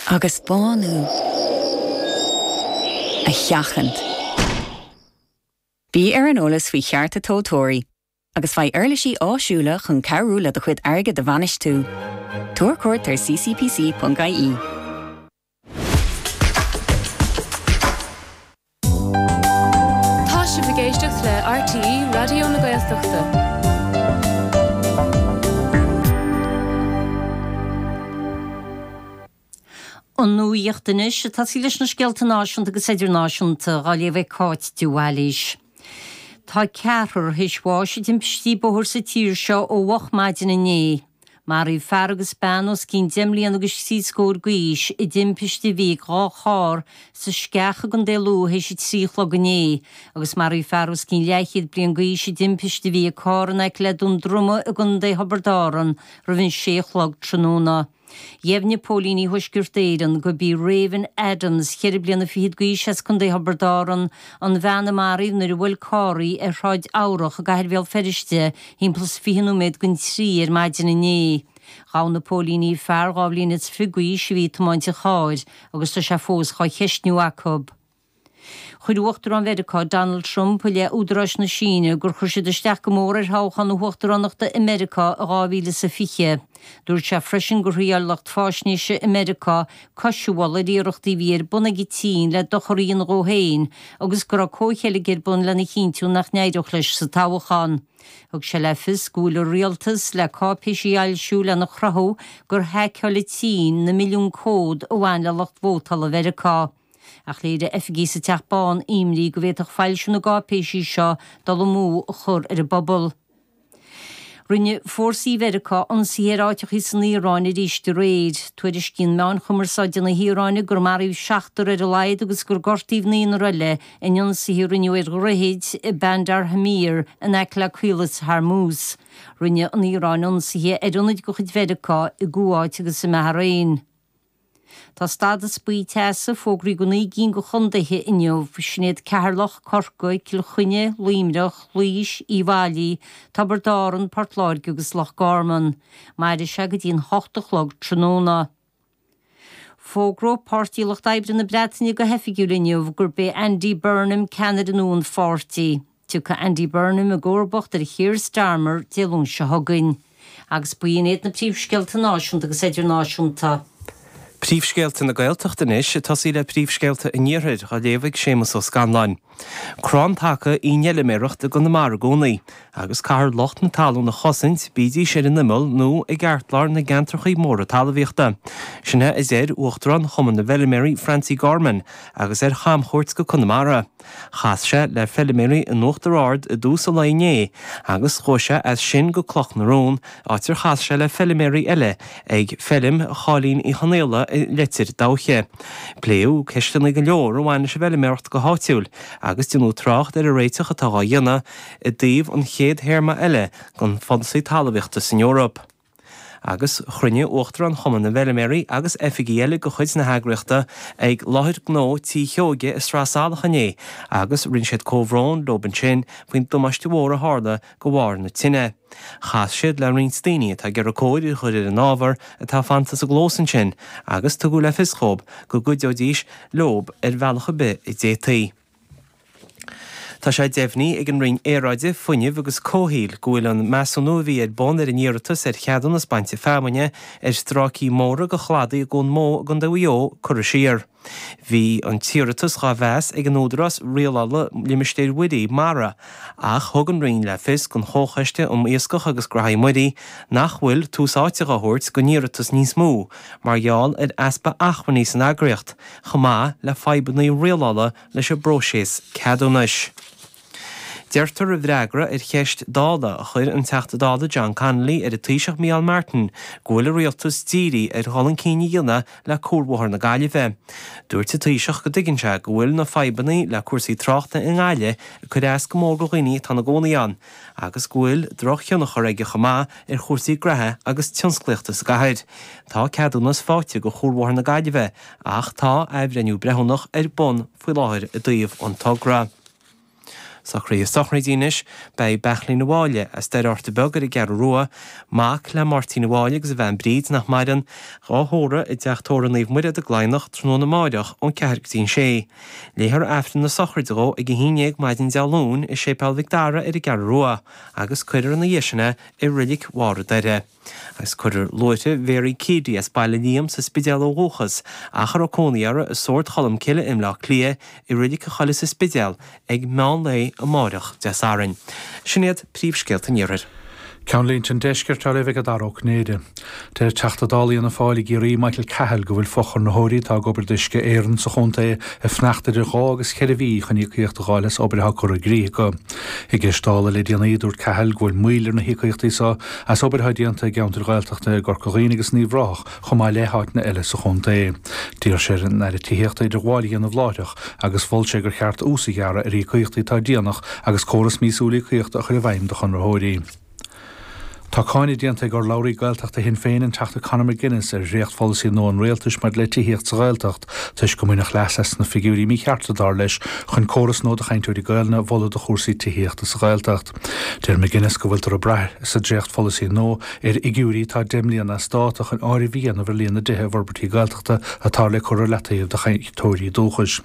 Agus bánú a sheachaint. Bí ar an eolas faoi chearta tomhaltóirí agus faigh uirlisí áisiúla chun cabhrú le do chuid airgid a bhainistiú. Tabhair cuairt ar ccpc.ie. Tá sibh ag éisteacht le RTÉ Raidió na Gaeltachta. An nuacht anois, ag tosaí leis na scéalta náisiúnta agus idirnáisiúnta, dhá léamh ag Cáit de Bhailís. Tá ceathrar théis bháis i dtimpistí bóthair sa tír seo ó mhoch maidin inné. Maraíodh fear agus bean os cionn deich mbliana agus trí scór d'aois i dtimpiste a bhí ag dhá charr sa Sceach i gContae Lú théis a 3 a chlog inné agus maraíodh fear os cionn leathchéad bliain d'aois i dtimpiste a bhí ag carr in aice le Dún Droma i gContae Thiobraid Árann roimh an sé a chlog tráthnóna. Dheimhnigh póilíní Thuaisceart Éireann gurb í Raven Adams, cheithre bliana fichead d'aois as Contae Thiobraid Árann, an bhean a maraíodh nuair a bhuail carr í ar Shráid Eabhrach i gcathair Bhéal Feirste thimpeall is 20 nóiméad don trí ar maidin inné. Ghabh na póilíní fear 22 bhliain is d'aois a bhí ag tiomáint an chairr agus tá sé fós dhá cheistniú acu. Chuir Uachtarán Mheiriceá, Donald Trump, i leith údaráis na Síne gur chuir siad isteach go mór ar thoghchán na huachtaránachta i Meiriceá i 2020. Dúirt sé freisin gur thriáil lucht faisnéise i Meiriceá cois a bhualadh ar iarrachtaí a bhí ar bun ag an tSín le dochar a dhéanamh dhó féin agus go raibh comhcheilg ar bun lena chinntiú nach n-éireodh leis sa toghchán. Thug sé le fios go bhfuil a rialtas le cáipéisí a fhoilsiú lena chruthú gur haiceáil an tSín na milliúin comhad a bhain le lucht vótála Mheiriceá. Ach léirigh oifigigh sa Teach Bán imní go bhféadfadh foilsiú na gcáipéisí seo dul amú a chur ar an bpobal. Rinne fórsaí Mheiriceá ionsaithe ar áiteachaí san Iaráin arís aréir. Tuairiscíonn meáin chumarsáide na hIaráine gur maraíodh seachtar ar a laghad agus gur gortaíodh naonúr eile in ionsaithe a rinneadh ar dhroichid i Bandar Hamir in aice le Caolas Hormuz. Rinne an Iaráin ionsaithe ar ionaid de chuid Mheiriceá i gCuáit agus i mBahrain. Tá stádas buí teasa fógraithe do 9 gcinn de chontaetha inniu, sin iad Ceatharlach, Corcaigh, Cill Chainnigh, Luimneach, Laois, Uíbh Fhailí, Tiobraid Árann, Port Láirge agus Loch Garman. Mairfidh sé go dtí an hocht a chlog tráthnóna. Fógróidh Páirtí Lucht Oibre na Breataine go hoifigiúil inniu gurb é Andy Burnham ceannaire nua an pháirtí. Tiocfaidh Andy Burnham i gcomharbacht ar Keir Starmer Dé Luain seo chugainn. Agus b'in iad na príomhscéalta náisiúnta agus idirnáisiúnta. Príomhscéalta na Gaeltachta anois, ag tosaí le príomhscéalta an Iarthair, á léamh ag Séamus Ó Scanláin. Crann taca í an fheiliméaracht i gConamara i gcónaí, agus caithfear lucht na talún a chosaint, bídís ar an imeall nó i gceartlár na gceantrachaí móra talmhaíochta. Sin é a deir Uachtarán Chumann na bhFeiliméaraí Francie Gorman agus é ar chamchuairt go Conamara. Chas sé le feiliméaraí in Uachtar Ard i dtús an lae inné agus chuaigh sé as sin go Cloch na Rón, áit ar chas sé le feiliméaraí eile ag feilm Chóilín Uí Chonaola i Leitir Dabhcha. Pléadh ceisteanna go leor a bhain leis an bhfeiliméaracht go háitiúil agus déanadh trácht ar an réiteach atá dhá dhéanamh i dtaobh an chéad théarma eile den pholasaí talmhaíochta san Eoraip. Agus chruinnigh Uachtarán Chumann na bhFeiliméaraí agus oifigigh eile de chuid na heagraíochta ag láthair gnó Tí Sheoige i Sraith Salach inné agus rinne siad comhbhrón leob ansin faoin damáiste mhór a tharla de bharr na tine. Chas siad le roinnt daoine atá ag iarraidh cóir a chur ar an ábhar atá fanta sa gclós ansin agus tugadh le fios dhóib go gcuideoidís leob ar bhealach ar bith a d'fhéadfaí. Tá sé deimhnithe ag an Roinn Aeráide, Fuinnimh agus Comhshaoil go bhfuil an measúnú a bhí ar bun ar an iarratas ar cheadúnas bainte feamainne ar stráicí móra de chladaí i gCuan Mó i gContae Mhaigh Eo curtha siar. Bhí an t-iarratas dhá mheas ag an Údarás Rialála Limistéir Mhuirí, Mara, ach thug an Roinn le fios don Chomhchoiste um Iascach agus Graithí Muirí nach bhfuil tús áite dhá thabhairt don iarratas níos mó mar gheall ar easpa acmhainní san eagraíocht chomh maith le fadhbanna rialála leis an bpróiseas ceadúnais. Deirtear i bhfreagra ar cheist Dála a chuir an Teachta Dála John Connolly ar an Taoiseach Micheál Martin go bhfuil an Rialtas dírithe ar dhul chun cinn a dhéanamh le Cuarbhóthar na Gaillimhe. Dúirt an Taoiseach go dtuigeann sé go bhfuil na fadhbanna le cúrsaí tráchta i nGaillimh ag cur as go mór do dhaoine atá ina gcónaí ann agus go bhfuil drochthionchar aige chomh maith ar chúrsaí graithe agus tionsclaíochta sa gcathair. Tá ceadúnas faighte do Chuarbhóthar na Gaillimhe Ach tá athbhreithniú breithiúnach ar bun faoi láthair i dtaobh an togra. Socruithe sochraide anois, Beidh Beairtlín de Bháille, as Doire Fhorta Beag ar an gCeathrú Rua, mac le Máirtín de Bháille agus a bhean Bríd, nach maireann, dhá thórramh i dTeach Tórraimh Naomh Muire i gCladhnach tráthnóna amáireach ón 4 go dtí an 6. Léifear Aifreann na sochraide dhó ag 11 maidin Dé Luain i Séipéal Mhic Dara ar an gCeathrú Rua agus cuirfear ina dhiaidh sin é i Reilig Bharr an Doire. Agus cuirfear luaithreamh Mhary Keady as Baile Liam sa Spidéal ó dhúchas ach a raibh cónaí uirthi i Sord Cholm Cille i mBleá Cliath i Reilig a Choille sa Spidéal ag meán lae amáireach Dé Sathairn. Sin iad príomhscéalta an Iarthair. Ceannlínte an Deiscirt á léamh ag Dara Ó Cinnéide. Deir Teachta Dála Fhianna Fáil i gCiarraí Michael Cahill go bhfuil fochonraitheoirí atá ag obair d'Uisce Éireann sa chontae ag fanacht idir dhá agus cheithre mhí chun íocaíocht a dh'fháil as obair atá curtha i gcrích acu. I gceist Dála le déanaí dúirt Cahill go bhfuil moill ar na híocaíochtaí seo as obair atá déanta i gceantair Ghaeltachta i gCorca Dhuibhne agus in Uíbh Ráthach chomh maith le háiteanna eile sa chontae. D'iarr sé ar an Aire Tithíochta idirghabháil a dhéanamh láithreach agus mhol sé gur cheart ús a ghearradh ar íocaíochtaí atá déanach agus córas míosúil íocaíochta a chur i bhfeidhm do chonraitheoirí. Tá cáineadh déanta ag urlabhraí Gaeltachta Shinn Féin, an Teachta Conor McGuinness, ar dhréachtpholasaí nua an Rialtais maidir le tithíocht sa Ghaeltacht toisc go mbaineadh leas as na figiúirí míchearta, dar leis, chun córas nua do chainteoirí Gaelainne a mholadh do chúrsaí tithíochta sa Ghaeltacht. Deir McGuinness go bhfuiltear ag brath sa dréachtpholasaí nua ar fhigiúirí atá 10 mbliana as dáta chun áireamh a dhéanamh ar líon na dtithe i bhforbairtí Gaeltachta atá le cur ar leataobh do chainteoirí dúchais.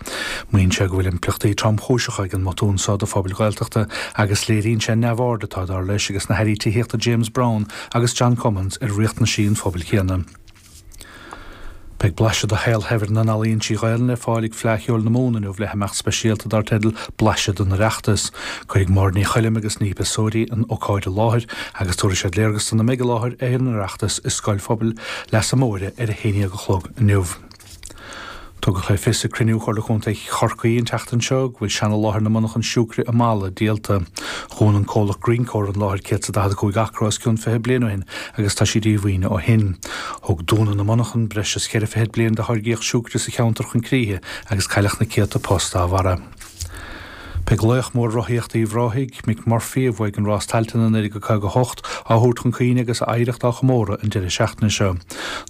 Maíonn sé go bhfuil impleachtaí tromchúiseacha ag an mbotún seo do phobail Ghaeltachta agus léiríonn sé an neamhaird atá, dar leis, ages na hAirí Tithíochta James Browne agus John Cummins ar riachtanaisí an phobail chéanna. Beidh blaiseadh de shaol shaibhir na n-ealaíon trí Ghaelainn le fáil ag Fleadh Cheoil na Mumhan inniu le himeacht speisialta dar teideal 'Blaiseadh den Oireachtas'. Cuirfidh Máire Ní Choilm agus Niamh Pissouri an ócáid i láthair agus tabharfaidh siad léargas do na mbeidh i láthair ar an Oireachtas i Scoil Phobail Leasa Móire ar a haon dhéag a chlog inniu. Tugadh le fios ag cruinniú Chomhairle Contae Chorcaí an tseachtain seo go bhfuil seana-láthair na monarchan siúcra i Mala díolta. Dhún an comhlacht Greencore an láthair 145 acra os cionn 20 bliain ó shin agus tá sí díomhaoin ó shin. Thug dúnadh na monarchan breis is cheithre fichid bliain de tháirgíocht siúcra sa cheantar chun críche agus cailleadh na céadta post dá bharra. Beidh laoch mór rothaíochta Uíbh Ráthaigh, Mick Murphy, a bhuaigh an Rás Tailteann i 1958, á thabhairt chun cuimhne agus a oidhreacht á chomóradh an deireadh seachtaine seo.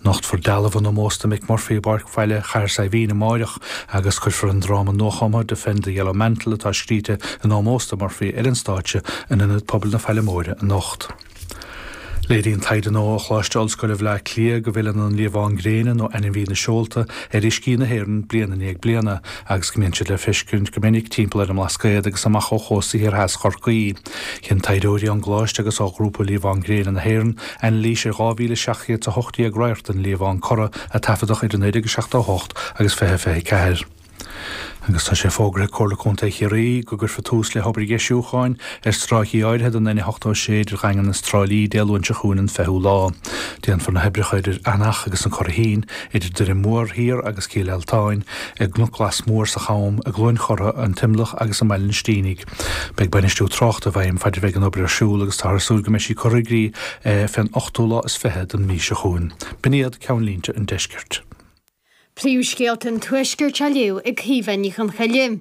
Nochtfar dealbh in ómós do Mick Murphy i bPáirc Bhaile Chathair Saidhbhín amáireach agus cuirfear an dráma nuachumtha Defend the Yellow Mantle atá scríte in ómós do Murphy ar an stáitse in Ionad Pobail na Faille Móire anocht. Léiríonn taighde nua ó Choláiste Ollscoile Bhaile Átha Cliath go bhfilleann an liamhán gréine nó ainmhí na seolta ar uiscí na hÉireann bliain i ndiaidh bliana agus go mbíonn siad le feiscint go minic timpeall ar an mBlascaod agus amach ó chósta thiar theas Chorcaí. Dhein taighdeoirí ón gcoláiste agus ó Ghrúpa Liamhán Gréine na hÉireann anailís ar 2,718 radharc den liamhán corra a taifeadadh idir 1978 agus 2024. Agus tá sé fógartha ag Comhairle Contae Chiarraí go gcuirfear tús le hobair dheisiúcháin ar stráicí áirithe den N86 idir Dhaingean is Trá Lí Dé Luain seo chugainn an 20ú lá. Déanfar na hoibreacha idir Eanach agus an Curraichín, idir Doire Mór Thiar agus Cill Altáin, i gCnoc Glas Mór sa Cham, i gCluain Chortha, an T-Imleach agus i mBaile an Stínigh. Beidh bainistiú tráchta i bhfeidhm faid a bheidh an obair ar siúl agus táthar ag súil go mbeidh sí curtha i gcrích fén ochtú lá is 20 den mhí seo chugainn. B'in iad ceannlínte an deiscirt. Príomhscéalta an Tuaiscirt á léamh ag Caoimhe Ní Chonchoille.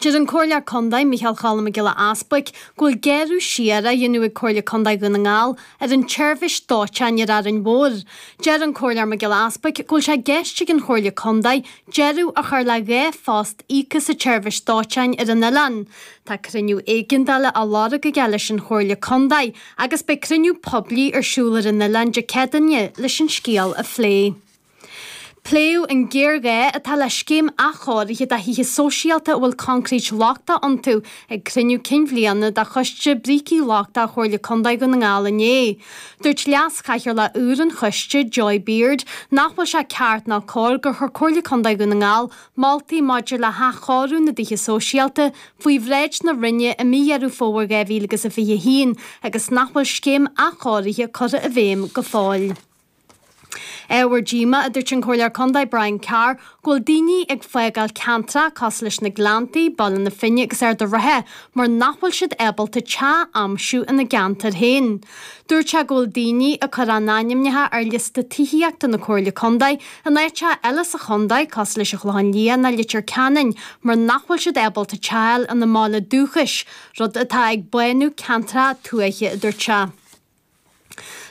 Deir an Comhairleoir Contae, Micheál Cholm Mac Giolla Easbuic, go bhfuil gearradh siar á dhéanamh ag Comhairle Contae Dhún na nGall ar an tseirbhís dóiteáin ar Árainn Mhór. Deir an Comhairleoir Mac Giolla Easbuic go bhfuil sé i gceist ag an Chomhairle Contae deireadh a chur le 2 phost íoctha sa tseirbhís dóiteáin ar an oileán. Tá cruinniú éigeandála á lorg aige leis an Chomhairle Contae agus beidh cruinniú poiblí ar siúl ar an oileán Dé Céadaoine leis an scéal a phlé. Pléadh an géarghá atá le scéim athchóirithe do thithe sóisialta a bhfuil coincréit lochtach iontu ag cruinniú cinn bhliana de Choiste Brící Lochtacha Chomhairle Contae Dhún na nGall inné. Dúirt Leas-Chathaoirleach úr an choiste, Joy Beard, nach bhfuil sé ceart ná cóir gur chuir Comhairle Contae Dhún na nGall moltaí maidir le hathchóiriú na dtithe sóisialta faoi bhráid na Roinne i mí Dheireadh Fómhair 2021 agus nach bhfuil scéim athchóirithe curtha i bhfeidhm go fóill. Ábhar díomá, a dúirt an Comhairleoir Contae Brian Carr, go bhfuil daoine ag fágáil ceantracha cosúil leis na Gleanntaí, Baile na Finne agus Ard a' Rátha mar nach bhfuil siad ábalta teach a aimsiú ina gceantar féin. Dúirt sé go bhfuil daoine ag cur a n-ainmneacha ar liosta tithíochta na Comhairle Contae in áiteacha eile sa chontae cosúil leis an Chlochán Liath nó Leitir Ceanainn mar nach bhfuil siad ábalta teach a fháil ina mbaile dúchais, rud atá ag bánú ceantracha tuaithe, a dúirt sé.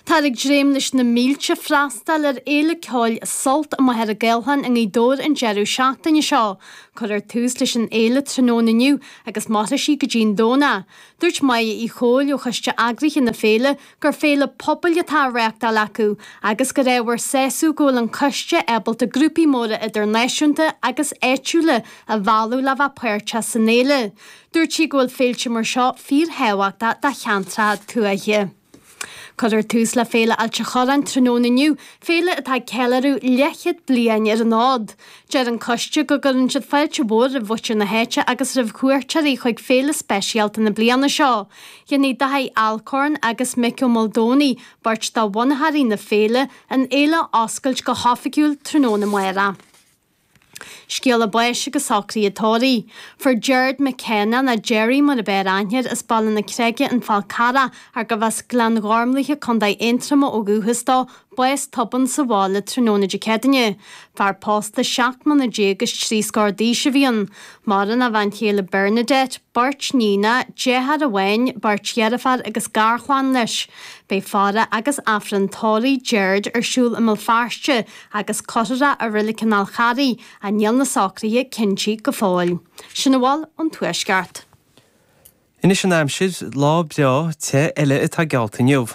Táthar ag dréim leis na mílte freastal ar fhéile ceoil Sult i Machaire Gathlán i nGaoth Dobhair an deireadh seachtaine seo. Cuirfear tús leis an fhéile tráthnóna inniu agus mairfidh sí go dtí'n Domhnach. Dúirt Máire Uí Chomhaill ó choiste eagraithe na féile gur féile pobail atá á reáchtáil acu agus gur ábhar sásaimh go bhfuil an coiste ábalta grúpaí móra idirnáisiúnta agus áitiúla a mhealladh le bheith páirteach san fhéile. Dúirt sí go bhfuil féilte mar seo fíorthábhachtach do cheantracha tuaithe. Cuirfear tús le Féile Ailt a' Chorráin tráthnóna inniu, féile atá ag ceiliúradh leathchéad bliain ar an fhód. Deir an coiste go gcuireann siad fáilte mhór roimh mhuintir na háite agus roimh chuairteoirí chuig féile speisialta na bliana seo. Déanfaidh Daithí Alcorn agus Mick Ó Maoldomhnaigh, beirt de bhunaitheoirí na féile, an fhéile a oscailt go hoifigiúil tráthnóna amárach. Scéala báis agus socruithe tórraimh. Fuair Gerard McKenna, nó Gerry mar ab fhearr aithne air, as Baile na Creige, An Fál Carrach, ar gurbh as Gleann Ghormlaithe, Co. Aontroma ó dhúchas dó, bás tobann sa bhaile tráthnóna Dé Céadaoine. Fear pósta 17 mbliana is trí scór d'aois a bhí ann. Maireann a bhean chéile Bernadette, beirt níonacha, deartháir amháin, beirt dheirféar agus garchlann leis. Beidh faire agus Aifreann tórraimh Gerard ar siúl i mBéal Feirste agus cuirfear é i Reilig an Fháil Charraigh, ach níl na socruithe cinntithe go fóill. Sin a bhfuil ón Tuaisceart. Anois an aimsir, lá breá te eile atá geallta inniu.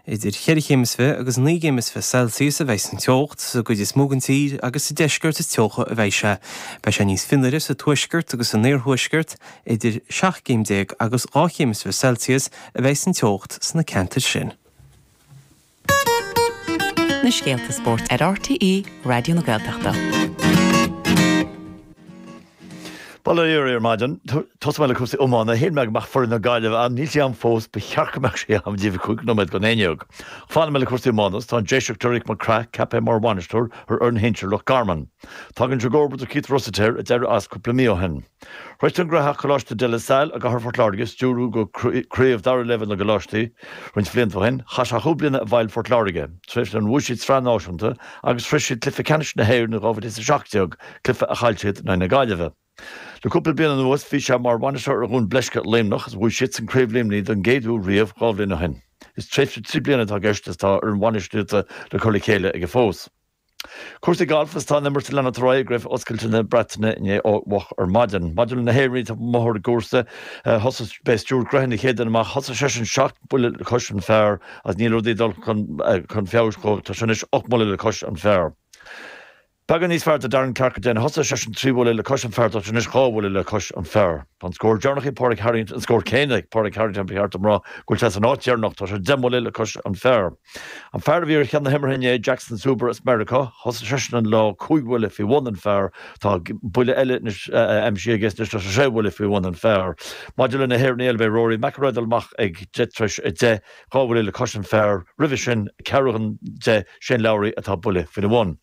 Idir cheithre chéim is fiche agus naoi gcéim is fiche Celsius a bheidh an teocht sa gcuid is mó den tír agus sa deisceart is teocha a bheidh sé. Beidh sé níos fionnuaire sa tuaisceart agus san iarthuaisceart, idir 17 gcéim agus 2 chéim is fiche Celsius a bheidh an teocht sna ceantair sin. Na scéalta spóirt ar RTÉ Raidió na Gaeltachta. Bail ó Dhia oraibh ar maidin. Tosóidh mé le cúrsaí iomána. Shíl mé go mbeadh foireann na Gaillimhe ann. Níl sí ann fós. Ba cheart go mbeadh sí ann díreach 5 nóiméad don 11. Fanfaidh mé le cúrsaí iomána. Tá an Déiseach Derek McCraith ceaptha mar bhainisteoir ar fhoireann shinsir Loch Garman. Tagann sé i gcomharbacht ar Keith Rossiter a d'éirigh as cúpla mí ó shin. Tar éis don nGraihtheach Coláiste De La Salle i gcathair Phort Láirge stiúrú go Craobh Dara Leibhéal na gColáistí roinnt bhlianta ó shin, chaith sé chúig bliana i bhfeighil Phort Láirge, tréimhse inar bhuaigh siad sraith náisiúnta agus shroich siad cluiche ceannais na hÉireann in 2017, cluiche a chaill siad in aghaidh na Gaillimhe. Le cúpla bliain anuas bhí sé mar bhainisteoir ar Dhún Bleisce, Luimneach, agus bhuaigh siadsan Craobh Luimnigh don gcéad uair riamh dhá bhliain ó shin. Is tréimhse trí bliana atá i gceist is tá fhoireann bhainistíochta le cur le chéile aige fós. Cúrsaí gailf is tá an imirt ag leanacht ar aghaidh i gCraobh Oscailte na Breataine inné ó mhoch ar maidin. Maidir le na hÉireannaigh atá amuigh ar an gcúrsa, thosaigh, b'é Stuart Grehan an chéad duine amach, thosaigh seisean seacht mbuille le cois an phar agus níl rudaí ag dul chun feabhais dhó, tá sé anois 8 mbuille le cois an phar. Beagán níos fearr do Darren Clarke go deimhin, thosaigh seisean trí bhuille le cois an phar, tá sé anois dhá bhuille le cois an phar. Tá an scór deireanach ag Pádraig Harrington, an scór céanna ag Pádraig Harrington ba cheart dom rá go bhfuil sé san áit dheireanach, tá sé deich mbuille le cois an phar. An fear a bhí ar cheann na himeartha inné, Jackson Suber as Meiriceá, thosaigh seisean an lá cúig bhuille faoi bhun an phar. Tá buille eile anois aimsithe aige anois, tá sé sé bhuille faoi bhun an phar. Maidir le na hÉireannaigh eile, beidh Rory McIlroy ag dul amach ag deich tar éis a 10, dhá bhuille le cois an phar. Roimhe sin, ceathrú chun 10, Shane Lowry atá buille faoina bhun.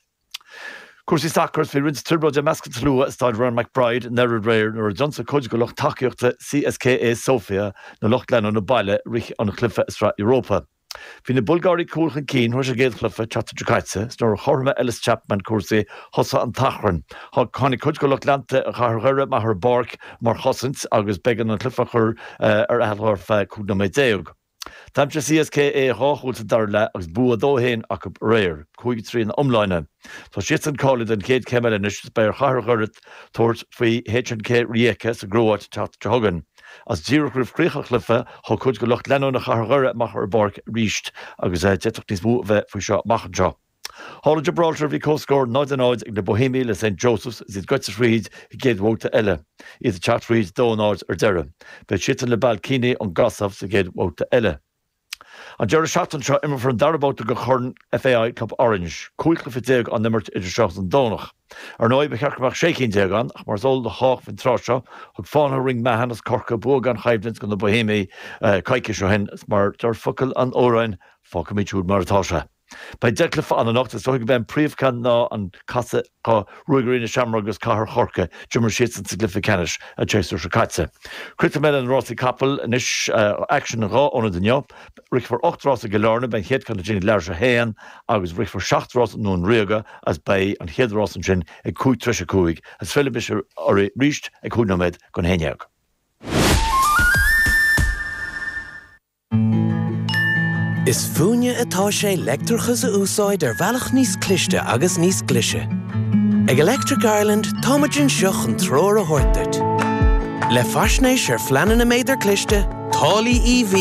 Cúrsaí sacair, Bhí roinnt trioblóide i measc an tslua i Staid Ryan McBride i nDoire aréir nuair a d'ionsaigh cuid de lucht tacaíochta CSKA Sofia na lucht leanúna baile i rith an chluiche i Sraith Europa. Bhí na Bulgáirigh cúl chun cinn tar éis an gcéad chluiche an tseachtain seo caite is nuair a chothromaigh Ellis Chapman cúrsaí thosaigh an t-achrann. Tháinig cuid de lucht leanta Chathair Dhoire amach ar an bpáirc mar chosaint agus b'éigean an cluiche a chur ar athló ar feadh 15 nóiméad. D'aimsigh CSKA dhá chúl sa dara leath agus bua 2-1 acu aréir, 5-3 ina iomláine. Tá siadsan cáilithe don chéad chéim eile anois is beidh ar Chathair Dhoire tabhairt faoi HNK Rijeka sa gCróit an tseachtain seo chugainn. Is díreach roimh chríoch an chluiche, thug cuid de lucht leanúna Chathair Dhoire amach ar an bpáirc arís agus d'fhéadfadh níos mó a bheith faoi seo amach anseo. Thall i Gibraltar bhí comhscór 0-0 ag na Boihéamaigh le St Joseph's is iad gaibhte thríd an gcéad bhabhta eile, iad ag teacht thríd 2-0 ar deireadh. Beidh siadsan le Ballkani ón gCosaiv sa gcéad bhabhta eile. An deireadh seachtaine seo imreofar an dara babhta de Chorn FAI Club Orange. 15 cluiche á n-imirt idir seo agus an Domhnach. Ar ndóigh, ba cheart go mbeadh 16 cinn ann, ach mar is eol do chách faoin tráth seo, thug Fánaithe Ring Mahon as Corcaigh bua gan choimhlint do na Boihéamaigh coicís ó shin, is mar deir focail an amhráin, fágfaimid siúd mar atá sé. Beidh 10 cluiche ann anocht. Is dóigh gurb é an príomhcheann ná an casadh do Ruagairí na Seamróige agus Cathair Chorcaí. D'imir siadsan sa gcluiche ceannais an séasúr seo caite. Críochnóidh mé le na rásaí capall anois. Aicsean in dhá ionad inniu. Rithfear 8 rás i gCill Airne, beidh an chéad ceann ansin ag leathuair tar éis a haon agus rithfear 7 rás i nDún Ríoga agus beidh an chéad rás ansin ag 5 tar éis a 5 agus fillfidh mise oraibh arís ag 5 nóiméad don 11. Is fúinne atá sé leictreachas a úsáid ar bhealach níos cliste agus níos glaise. Ag Electric Ireland táimid anseo chun treoir a thabhairt duit. Le faisnéis ar phleananna méadar cliste, táillí EV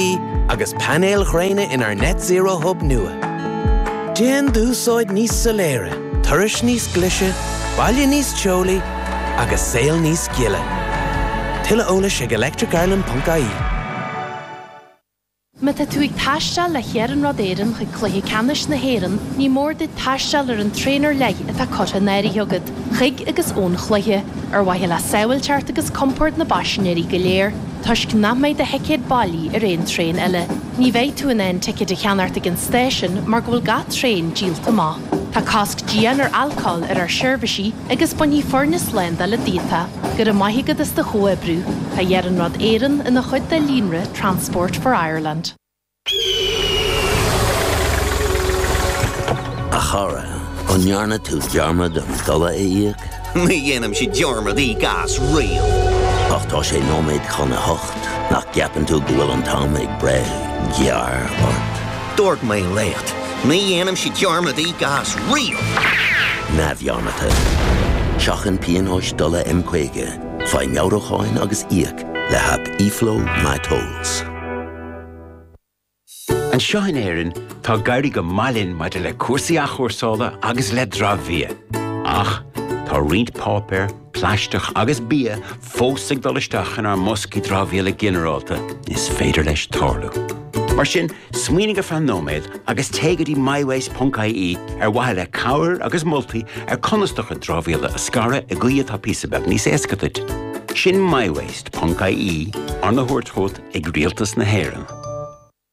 agus painéil ghréine inár Net Zero Hub nua. Déan d'úsáid níos soiléire, turais níos glaise, baile níos teolaí agus saol níos gile. Tuilleadh eolais ag electricireland.ie. Má tá tú ag taisteal le hIarnród Éireann chuig Cluiche Ceannais na hÉireann, ní mór duit taisteal ar an traein ar leith atá curtha in áirithe agat, chuig agus ón chluiche, ar mhaithe le sábháilteacht agus compord na bpaisinéirí go léir, toisc nach mbeidh do thicéad bailí ar aon traein eile. Ní bheidh tú in ann ticéid a cheannacht ag an stáisiún mar go bhfuil gach traein díolta amach. Tá cosc dian ar alcól ar ár seirbhísí agus bainfidh foirne slándála díot é. Go raibh maith agat as do chomhoibriú. Tá Iarnród Éireann ina chuid de líonra Transport for Ireland. A chara, an ndearna tú dearmad an dola a íoc? Ní dhéanaimse dearmad íoc as riamh. Ach tá sé nóiméad chun a hocht, nach gceapann tú go bhfuil an t-am ag breith gearr ort? Dúirt mé leat, ní dhéanaimse dearmad íoc as riamh! Neamhdhearmadta. Seachain pionóis dola M50, faigh meabhrúcháin agus íoc le haip eFlow MyTolls. Anseo in Éirinn, tá ag éirí go maith linn maidir le cúrsaí athchúrsála agus le dramhbhia. Ach tá roinnt páipéar, plaisteach agus bia fós ag dul isteach inár mboscaí dramhaíola ginearálta, is féidir leis tarlú. Mar sin, smaoinigh ar feadh nóiméad agus téigh go dtí mywaste.ie ar mhaithe le cabhair agus moltaí ar conas do chuid dramhaíola a scaradh i gcaoi atá píosa beag níos éasca duit. Sin mywaste.ie, arna thabhairt chugat ag Rialtas na hÉireann.